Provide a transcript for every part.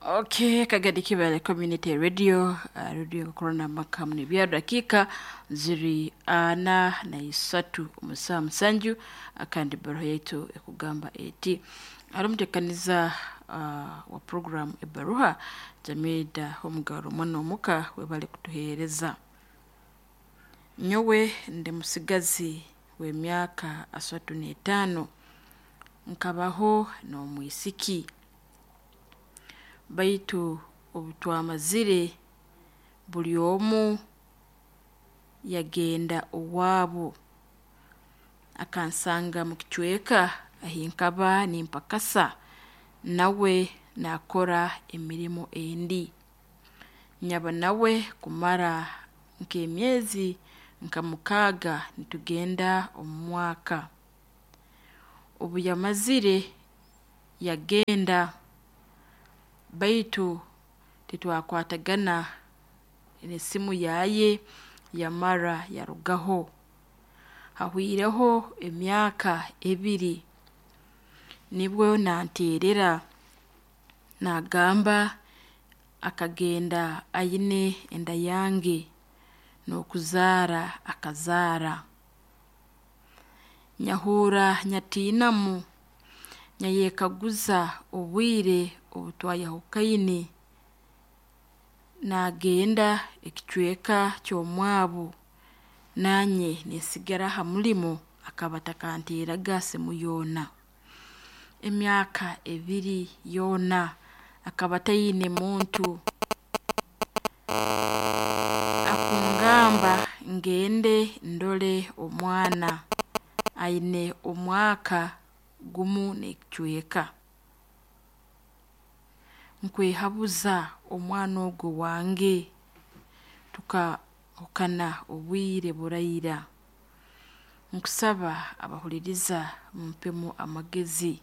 Okay, Kagadi Kibale Community Radio, radio corona makamu ni bya dakika ziri 43 omusaa 7 kandi baruha yaitu ekugamba eti ari omutekaniza wa program ebaruha Jamida Homugaro mwana omuka webale kutuheereza. Nyowe ndi musigazi w'emyaka 35 nkabaho n'omwisiki baitu obutwamazire buli omu yagenda owaabo akansanga mu kicweka ahinkaba nimpakasa nawe naakora emirimo endi nyaba nawe kumara nk'emyezi nka 6 nitugenda omu mwaka. Obu yamazire yagenda baitu titwakwatagana n'esimu yaye yamara yarugaho. Hahwireho emyaka 2 nibwo nanteerera naagamba akagenda aine enda yange n'okuzaara akazaara. Nyahurra nyatiinamu nyayekaguza obwire obutwayahukaine naagenda ekicweka ky'omwabo nanye ninsigara ha mulimo akaba atakanteeraga simu yoona. Emyaka 2 yoona akaba ataine muntu. Akungamba ngende ndole omwana aine omwaka 1 n'ekicweka. Nkwehabuza omwana ogwo wange tukahukana obwire buraira. Nkusaba abahuliriza mumpemu amagezi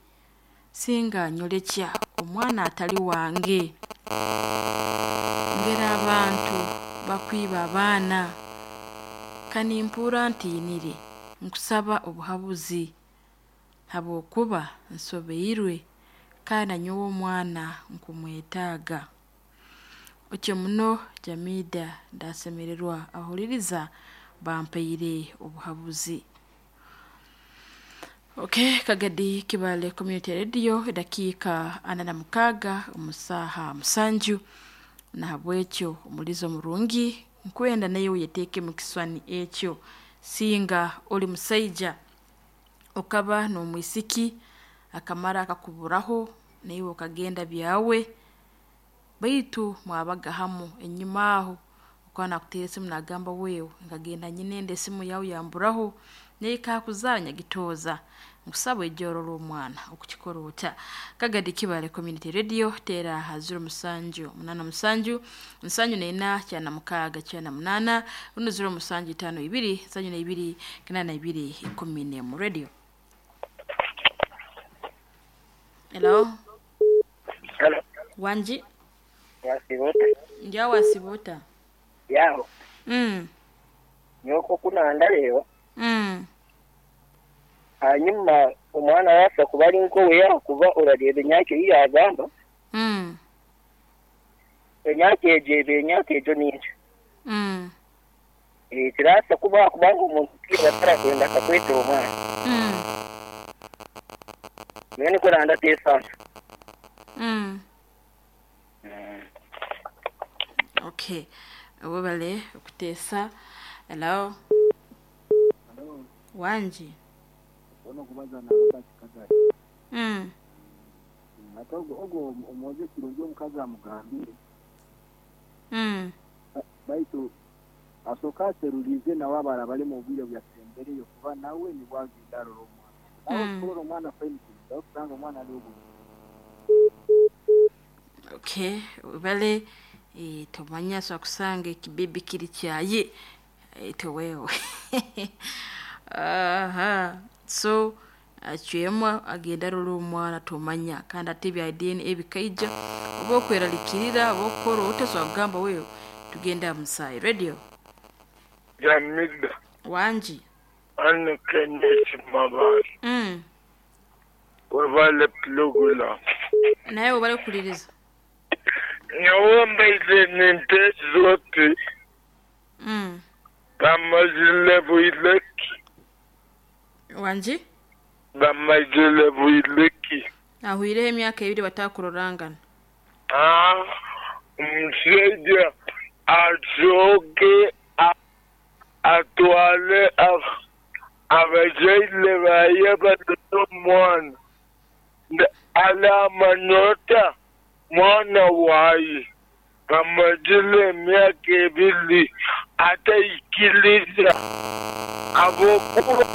singa nyorekya omwana atali wange. Ngera abantu bakwiba abaana kanimpurra ntiinire nkusaba obuhabuzi habwokuba nsobeirwe kandi nanyowe omwana nkumwetaaga. Otyo muno Jamida ndasemererwa abahuliriza bampaire obuhabuzi. Okay, Kagadi Kibale Community Radio edakiika 46 omu saaha 7 nahabwekyo omulizo murungi nkwenda naye oyeteeke mu kiswani ekyo singa oli musaija okaba n'omwisiki akamara akakuburaho naiwe okagenda byawe baitu mwabaga hamu enyuma aho okaba nakuteera esimu naagamba wewe nkagenda nyine enda esimu yawe yamburaho naye kakuzaara nyagitooza nkusaba oije orole omwana okukikora ota. Kagadi Kibale Community Radio teera ha 07 87 74 96 rundi 07 52 72 82 11 radio. Hello. Hello. Wanji. Wasibuta. Nja wasibuta. Yaho. Nyoko kunanda leo. Hanyuma omwana wasa kuba ari nkowe yakuba orareba emyaka ei yagamba. Emyaka egyo eba emyaka egyo ningi. Kirasa kuba kubanga omuntu tiiba atarakwenda akakwetera omwana. Nyowe nikwo nandateesa. Okay. Webale okuteesa. Hello. Wanji. Ono kubaza na Robert Kagari. Ate ogwo omwojo kirungi omukazi amugambire. Baitu asooka aserulize nawe abalala bali mu bwire byasembereyo kuba nawe nibwo agenda arora omwana. Nawe kurora omwana fine kirungi kusanga omwana ali obubi. Okay, webale tomanya so kusanga ekibibi kiri kyaye towewe. Aha. So acwemu agenda arora omwana tomanya kandi ate ebya DNA bikaija oba okwerarikirira oba okukora ota so kugamba wewe tugenda musaayi radio. Jamida. Wanji. Anne Kenneth Mabali. Webale pulogulaamu. Naye webale kukuliriza. Nyowe mbaire ninteesa oti bamazire bwire ki? Wangi? Bamazire bwire ki? Ahwireho emyaka ebiri batakurorangana. Aa, omusaija asooke atwale abazaire baye barole omwana. Aramanya ota mwana waye bamazire emyaka ebiri ataikiriza habwokuba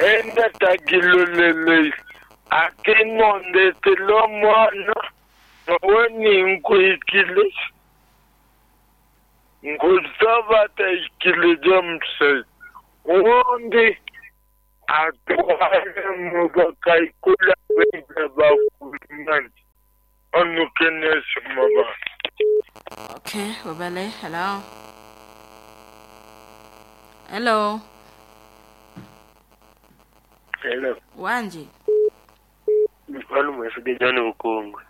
enda tagiroleleire. Ati nondeetera omwana nyowe ninkwikiriza. Nkusaba ataikiriza omusaija. Obundi atwale mu bakaikuru abaija bakumanya. Onu Kenneth Mabanda. Okay, webale. Hello. Hello. Hello. Wangi? Wano mwesige John Bukungwe.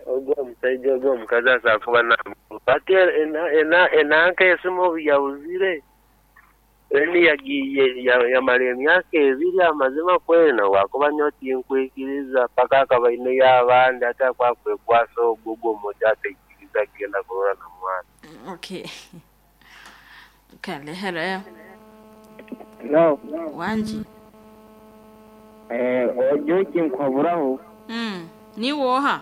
Ogwo omusajja ogwo omukazi asobola kuba ati enanka esimu obu yabuzire eni yagiye yamara emyaka ebiri amazima kwena wakuba nyowe tinkwikiriza paka akaba aineyo abandi ate akwakwekwasa ogwo ogwo omuti ataikiriza kugenda kurora na mwana. Okay. Kale, hello. No. Wangi? Ojo nkwaburaho. Ni woha?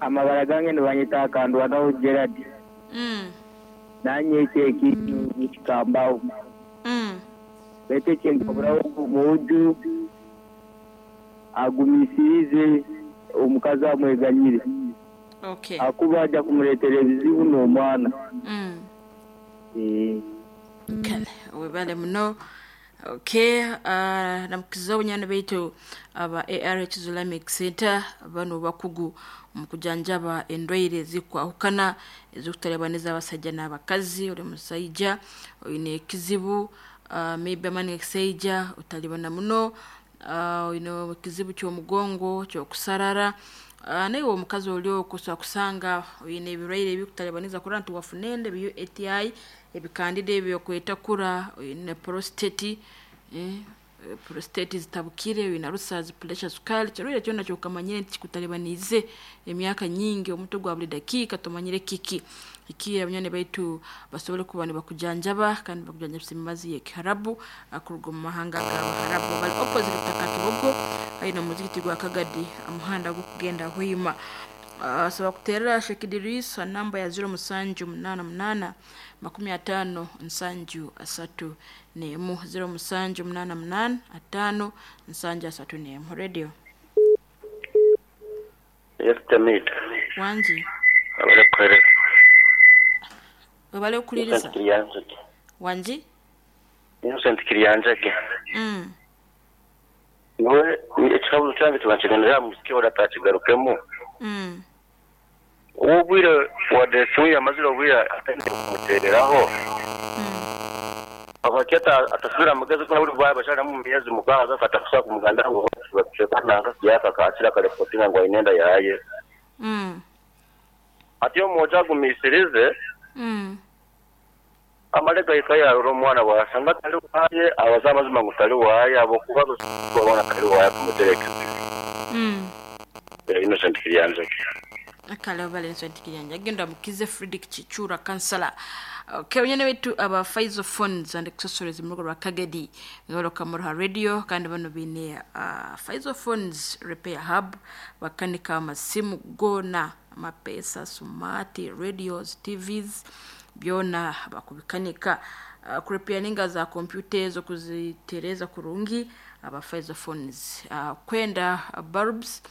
Amabara gange nibanyita akandwanaho Gerard. Nanye eki kikambaho. Bete ekinkwaburaho omuju agumisirize omukazi amweganyire. Okay. Akuba aja kumuleetera ebizibu n'omwana. Kale, webale muno. Okay, namukiza obunyana baitu aba ARH Islamic Center bano bakugu mu kujanjaba endwaire ezikwahukana ezikutalabaniza abasajja n'abakazi. Ori musaija oine ekizibu, maybe amani ekisaija otalibana muno, oine ekizibu ky'omugongo ky'okusarara, naiwe omukazi ori okusobola kusanga oine ebirwaire ebikutalabaniza kurora nti wafuna enda ebi UTI ebikandida ebyokwetakura, oine prostate, prostate zitabukire, oine ulcers, pressure, sukari, kirwaire kyona kyokamanyire nti kikutalabaniize emyaka nyingi, omutwe gwa buli dakiika tomanyire kiki. Iki abanywani baitu basobole kuba nibakujanjaba kandi bakujanjabisa emibazi y'ekiharabu akuruga omu mahanga g'abaharabu. Bali opposite Butaka Kibogo aine omuzigiti gwa Kagadi omuhanda gw'okugenda Hoima. Sobola kuteerera Sheikh Idris namba ya 0788 50 7 31 0788 5 7 31. Radio. Yes, Tamid. Wangi? Abale Webale okuliriza. Wangi? Innocent Kiryanjage. Niwe ekihabuzo kyange tubankigendera musiki ora takigarukemu. Obwire wadde esimu yamazire obwire atandika kumuteereraho. Abaketa atasubira amagezi ko buri bwa bashara mu myezi mukaaga akatakusa ku muganda ngo bakusheka yaka kakira kalepotinga ngo ainenda yaye. Ati omoja agumisirize. Amale gaika yarora omwana wasanga tali waye abaza amazima ngu tali waye abokuba babona tali waye kumuterekeza. Innocent Kiryanjage. Akale bale Innocent Kiryanjage genda mukize Fredrick Chichura kansala. Okay, wenyene wetu aba Faizo Phones and Accessories mu rugo rwa Kagadi ngoro kamurha radio kandi bano bine Faizo Phones Repair Hub bakanika amasimu gona amapesa smart radios TVs byona bakubikanika, kurepairinga za computer zo kuzitereza kurungi aba Faizo Phones, kwenda bulbs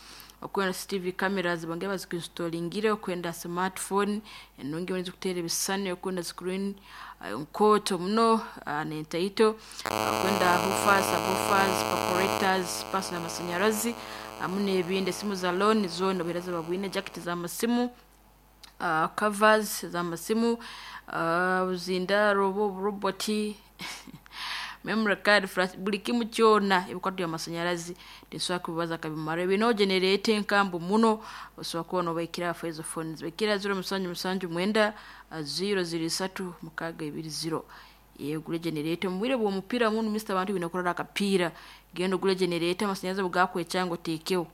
okwenda CCTV cameras bange bazikinstallingire, okwenda smartphone enungi boneza kutera ebisani, okwenda screen nkoto muno nentaito, okwenda hoofers, subwoofers, perforators, pasi n'amasanyarazi amu n'ebindi, esimu za loan zona obuhereza babwine, jacket z'amasimu, covers z'amasimu, buzindaro oba oburoboti Memory card, flash, buli kimu kyona ebikwato by'amasanyarazi tesobola kubibaza akabimara. Bino generate enkambu muno, osobola kuba nobaikira afa ezo phones. Baikira 0779 003 620. Gule generator mu bwire bw'omupiira muno Mr. Abantu bine kurora akapiira. Genda ogule generator amasanyarazi bugakwekyanga oteekeho.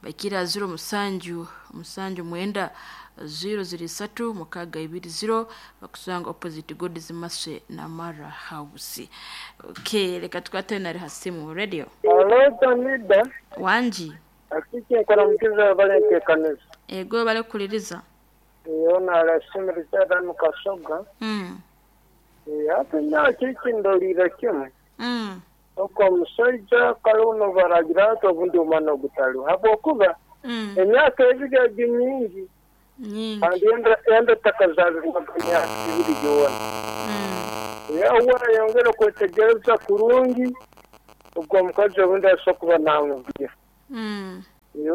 Baikira 07 79 003 620 bakusanga opposite God's Mercy Namara House. Okay, leka tukwate nari hasimu radio. Alo Tamida, Wanji. akiki nkora mukiza balentekanisa. Ego bale kuliriza. Yona arasimirisa danu kasoga. Ate nakiki ndolira kimwe. Oko omusajja kale uno baragira ati obundi omwana ogutaliho habwokuba emyaka ebiri egi mingi Nyingi. kandi enda takazaalirwaga emyaka ebiri gyona. Yawe ayongere kwetegereza kurungi ogwo omukazi obundi asobola kuba namubwira.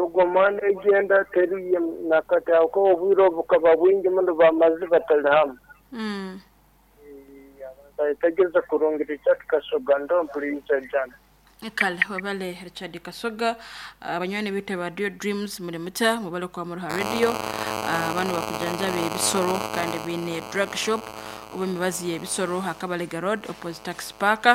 Ogwo omwana egenda teriye nakati ako obwire obukaba bwingi muno bamazi batali hamwe. Ayetegereza kurungi Richard Kasoga ndo mpuliriza jana. Kale wabale Richard Kasoga, abanywani bite ba Radio Dreams muri muta mubale kwa Muruha Radio, bano bakujanjabe ebisoro kandi bine drug shop oba emibazi y'ebisoro Hakabalega Road opposite tax park,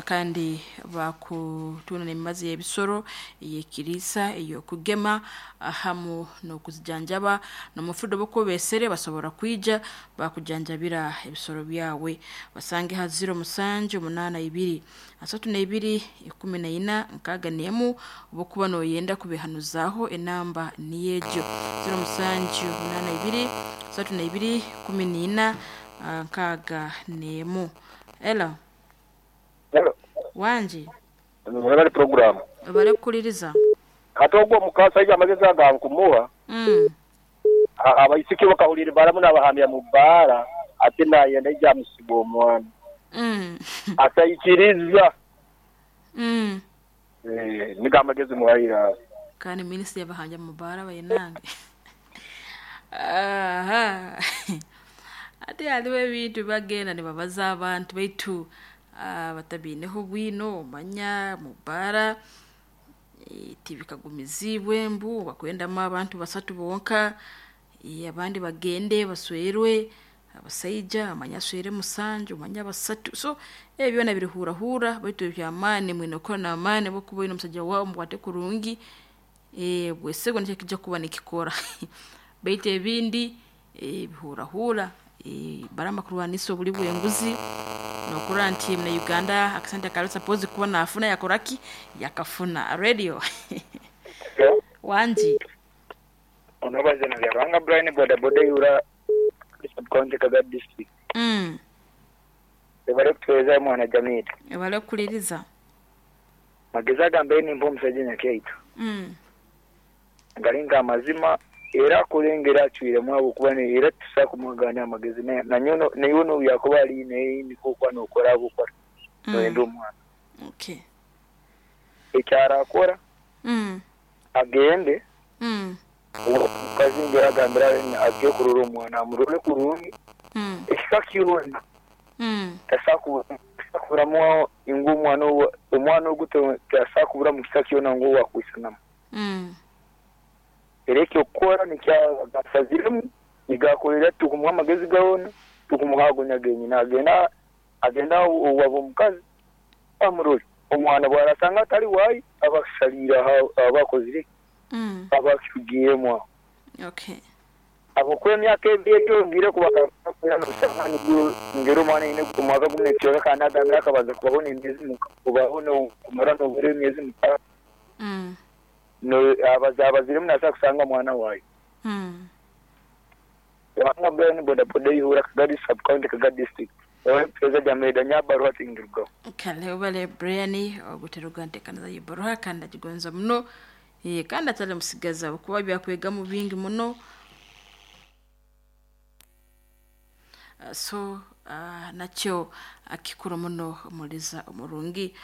kandi bakutuna n'emibazi y'ebisoro ey'ekiriisa ey'okugema hamu n'okuzijanjaba n'omufudo bokubesere basobora kwija bakujanjabira ebisoro byawe. Basange ha 07 82 32 14 61 obukuba noyenda kubihanuzaho enamba niyejo 07 82 32 14 61. Hello. Wanji. Mwebale program. Bale kukuliriza. Ate ogwo mukasajja amagezi agankumuha. Abaisiki bakahulira baramu n'abahamya mu bbaara ate nayenda ijja amusiga omwana. Ataikiriza. Nigo amagezi muhaira. Kandi minisitiri yabahanja mu bbaara bayinange. Aha. Ate haliwo ebintu bagenda nibabaza abantu baitu batabiineho bwino omanya mu bbaara tibikagumizibwe mbu bakwendamu abantu basatu bonka, abandi bagende baswerwe abasaija amanya aswere musanju omanya basatu, so ebyo byona birihurahura baitu byamaani mwine kukora n'amaani bokuba oine omusajja waawe mukwate kurungi, bwesegwa nikyo kijja kuba nikikora. Baitu ebindi bihurahura barama kurwanisa obuli bw'enguzi nokurora nti muna Uganda akasente akali suppose kuba nafuna yakoraki yakafuna. Radio. Wanji. Onobaze na Rwanga Brian boda boda yura subcounty Kagat district. Ebale kutuweza mwana jamii. Ebale kuliriza. Magezi agambe ni mpo omusajja nyakyaitu. Galinga amazima era kulengera acwiremu ahabwokuba era tusobola kumwagaana amagezi nanyono naye yakuba ali naye niko okuba nokora abukora noyenda omwana. Okay. Ekyarakora agende omukazi ngera agambira agiye kurora omwana amurore kurungi ekika kyona tasakuburamu ngu omwana ogu tasakuburamu kika kyona ngu wakwisanamu. Era ekyokukora nikyasaziremu nigakorera tukumuha amagezi gawona tukumuha agonya genyini agenda owaba omukazi amurore omwana bwarasanga atali waayi abasaliira abakozire abakigiyemu aho. Okay. Ahabwokuba emyaka ebiri egyongire ngera omwana aine omwaka gumwe nekicweka kandi agambire akabanza kubaho n'emyezi kubaho kumara nobura emyezi mukaaga. Abaziremu nasobola kusanga omwana waayo. Ruhanga Brian boda boda ihura Kagadi sub county Kagadi district. Perezida Jameda nyabaruha tingirwaho. Kale obale Brian oguteruga ntekaniza yibaruha kandi agigonza muno kandi atali musigaza kuba byakwegamu bingi muno. So nakyo akikuru muno omuliza omurungi.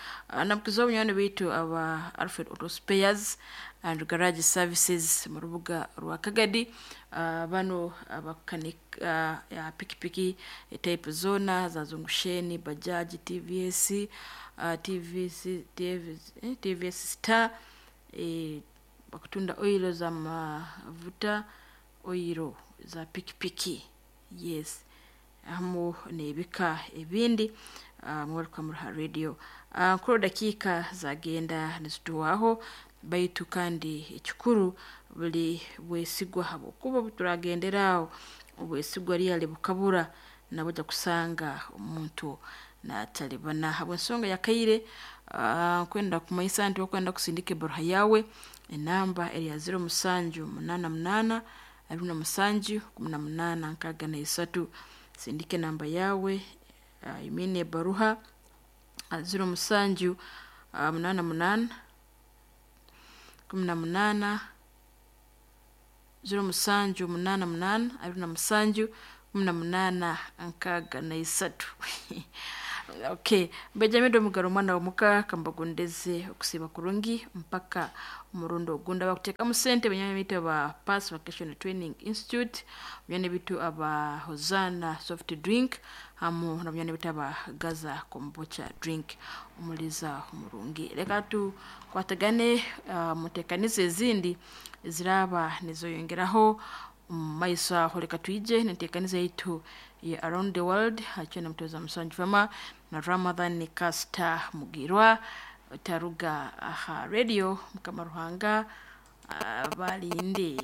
Namukiza obunywani baitu aba Alfred Auto Spares, and Garage Services mu rubuga rwa Kagadi. Bano abakanika pikipiki type zona za zungusheni, bajaji, TVS, TVS, TVS, TVS Star, bakutunda oilo za mavuta, oilo za pikipiki, yes, hamu n'ebika ebindi. Mwaruka muruha radio nkuru dakiika zagenda nizituwaho, baitu kandi ekikuru buli bwesigwa, habwokuba obuturagenderaho obwesigwa ryali bukabura nabujja kusanga omuntu natalibana habw'ensonga yakaire. Nkwenda kumanyisa nti okwenda kusindika ebaruha yawe, enamba eri ya 0788 27 18 63. Sindika enamba yawe, imine ebaruha 07 88 18 07 88 27 18 63. Okay, Benjamin Omugaro omwana womuka kambagondeze okusiba kurungi mpaka omurundi ogunda bakuteekamu sente. Benyanya bitu aba Pass Vocational Training Institute, bunyanya bitu aba Hosana Soft Drink, hamu na bunyanya bitu aba Gaza Kombucha Drink. Omuliza omurungi, leka tukwatagane muteekanize ezindi eziraba nizoyongeraho omu maiso aho. Leka twije nenteekaniza yaitu ya Around the World hakyo na mutoza musanju fama na Ramadhan Kasta Mugirwa taruga aha radio. Mukama Ruhanga balinde.